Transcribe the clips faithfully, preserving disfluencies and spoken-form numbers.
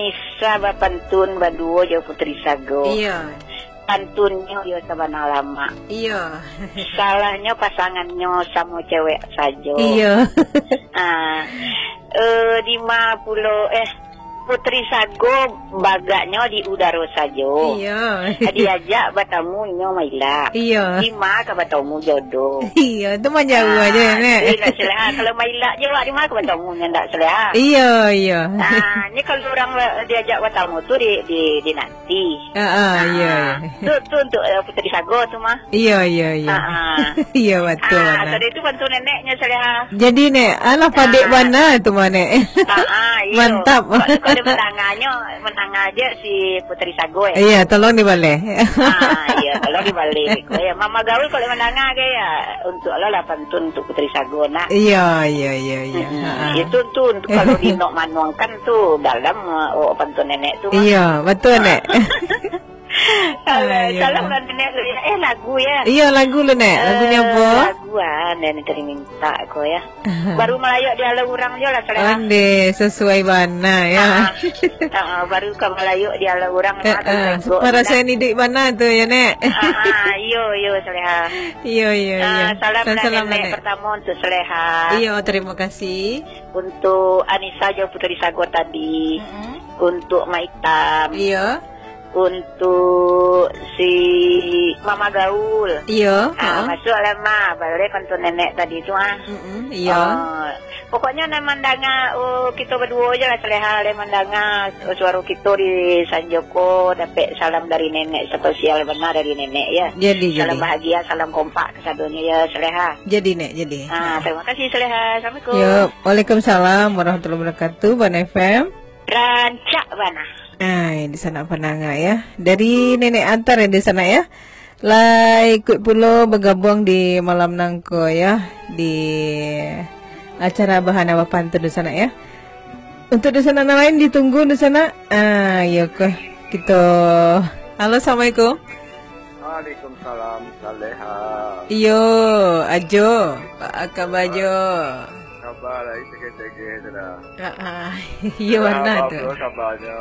Anisa bapantun baduo jo Putri Sago. Iyo. Pantunnyo iyo sabana lamak. Iyo. Salahnyo pasangannyo samo cewek sajo. Iyo. Ah, eh, dima pulo, eh, Putri Sago bagaknyo di udaro sajo. Iyo. Diajak batamu nyo mailak. Iyo. Dima ka batamu jodoh. Iyo, tu mah jauah Ah, aja, Nek. Iyo, ndak saleha. Kalau mailak je awak, dima ka batamu nyo ndak saleha. Iyo, iyo. Ah, ni kalau urang ba-, diajak batamu tu di, di, di nanti. Ah, ah, iyo, Ah, iyo. tu, tu untuk, eh, Putri Sago tu mah. Iyo, iyo, iyo. Ah, ah. Iyo, batua, Ah, nah. tadi tu bantu neneknyo saleha. Jadi, Nek, alah padek Ah. bana tu mah, Nek. Ah, ah, iyo. Mantap. Kok, kok dia menanganyo, menangan aja si Putri Sago, eh. Iyo, tolong dibaleh. Ah, iyo, tolong dibaleh. Ko, ya, Mama Gaul kalau menangan ke, ya, untuk lo lah pantun untuk Putri Sago, nak. Iyo, iyo, iyo, iyo. Mm-mm. Ha, ha. Itu tu untuk kalau di Nok Manuang kan tu dalam, eh, oh, pantun nenek tu, Mak. Iyo, batua, Nek. Alah, Ayolah. salam lah nenek lu, ya. Eh, lagu, ya. Iyo, lagu lu, Nek. Lagunyo Eh, apo? Lagu, ah, nenek tadi minta ko, ya. Baru malayok di alah urang je lah, saleha. Ondeh, sesuai bana, ya. Ah, ah, baru ka malayok di alah urang, Eh, ah, tu eh, jago, parasaik nak. Iduik bana tu, ya, Nek. Ah, ah, iyo, iyo, saleha. Iyo, iyo, Ah, iyo. Salam, salam lah, nenek, Nek. Pertama untuk saleha. Iyo, terima kasih. Untuk Anisa jo Putri Sago tadi. Mm-mm. Untuk Mak Itam. Iyo. Untuk si Mama Gaul. Iyo, Ah, ha. Masuk lah, Ma. Baleh pantun nenek tadi tu, ah. Mm-mm, iyo. Ah, pokoknyo nan mandanga, oh, kito baduo je lah saleha, lai mandanga, oh, suaro kito di Sanjoko, dapek salam dari nenek, spesial bana dari nenek, ya. Jadi, Salam jadi. bahagia, salam kompak kasadonyo, ya, saleha. Jadi, Nek, jadi. Ah, Ha. terima kasih, saleha. Assalamualaikum. Yo, waalaikumsalam warahmatullahi wabarakatuh, Bana F M. Rancak bana. Ai, di sana pandanga, ya. Dari Nenek Antar, ya, di sana, ya. Lah ikut pulo bagabuang di malam nangko, ya, di acara Bahana Bapantun di sana, ya. Untuk di sana nan lain ditunggu di sana. Ah, iyo ko. Kito. Halo, assalamualaikum. Waalaikumsalam, Saleha. Iyo, Ajo. Apa kaba, Jo? Kaba lai cegeh-cegeh tu dah. Ah, ah. Iyo, Saleha, bana tu. Apo kabanyo?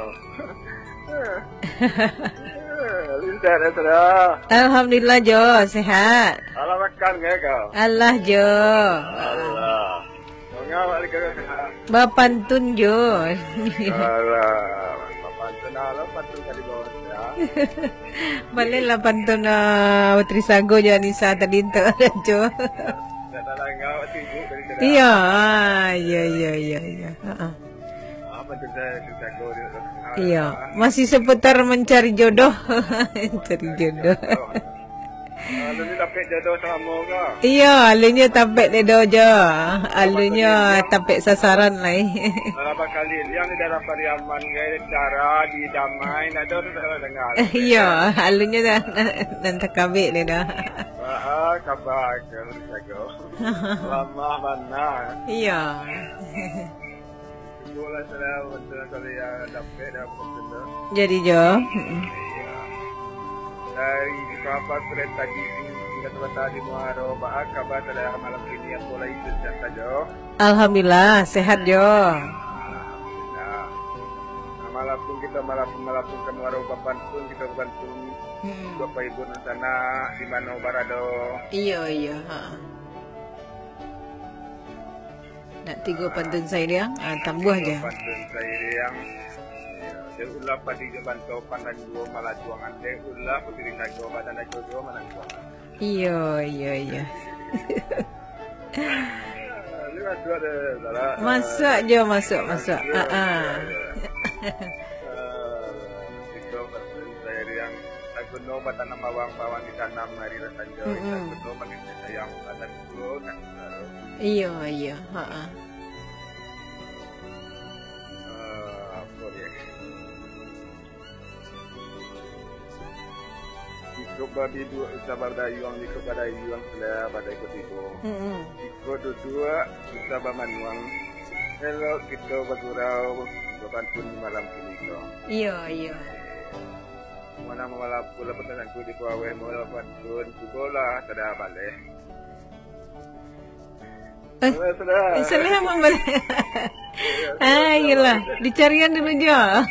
Lincah dah, Saleha. Alhamdulillah, Jo. Sehat. Alah makan ke kau? Alah, Jo. Alah. Mangawak lagi kau sehat. Bapantun, Jo. Alah, bapantun, alah, pantun tadi bawa saya. Baleh lah pantun, ah, Putri Sago jo Anisa tadi tu, Jo. Dah, dah, dah, ngawak sibuk tadi tu dah. Iyo, ah, iyo, iyo, iyo, iyo. Ha, ah. Ah, pantun saya, Putri Sago dia. Iyo, masih seputar mencari jodoh. Mencari jodoh. Ah, lu ni dapek jodoh samo ka? Iyo, alunnyo tapek jodoh, Jo. Alunnyo tapek sasaran lai. Kalau bakali liang di daerah Pariaman, gaya cara di Damai, ndak ada tu salah dengar. Iyo, alunnyo nan, nan takabek jodoh. Ah, ah, kabar ke, Jago. Lama bana. Iyo. Cukup lah, saudara, bantuan saudara yang dapek dah, bantuan tu. Jadi, Jo. Mm-mm. Iya. Dari kabar surat tadi, hingga sebentar di Muaro, baa kabar saudara malam kini, apo lai sehat sajo? Alhamdulillah, sehat, Jo. Alhamdulillah. Nah, malapun kita malapun, malapun ka Muaro bapantun, kita bapantun. Mm-mm. Bapak Ibu nan sanak, di mano barado. Iyo, iyo, ha. Nak tigo pantun sairiang, ah, tambuah je. Pantun sairiang. Ya, dek ulah padi jo banto pandang juo malajuangan, dek ulah putiri nago badan nago juo manangguangan. Iyo, iyo, iyo. Ini masuk ada, salah. Masuk je, masuk, masuk. Masuk, ah, ah. Ya, ya. Ah, tigo pantun sairiang. Saguno batanam bawang, bawang ditanam hari rasanjo. Mm-mm. Saguno manusia sayang, batanam. Iyo, iyo, ha. Eh, apo dia? Jikok babiduak usah badayuang, jikok badayuang sudah badai kutibo. Mm-mm. Jikok duduak usah bamanuang, elok kito bagurau, bapantun di malam kini ko. Iyo, iyo. Mana malam pula pun tanangku di bawah, mau bapantun, cubolah, tada baleh. Eh, Sudah, sudah. Eh, salah mambali. Ah, iyalah. Dicarian dulu, Jo.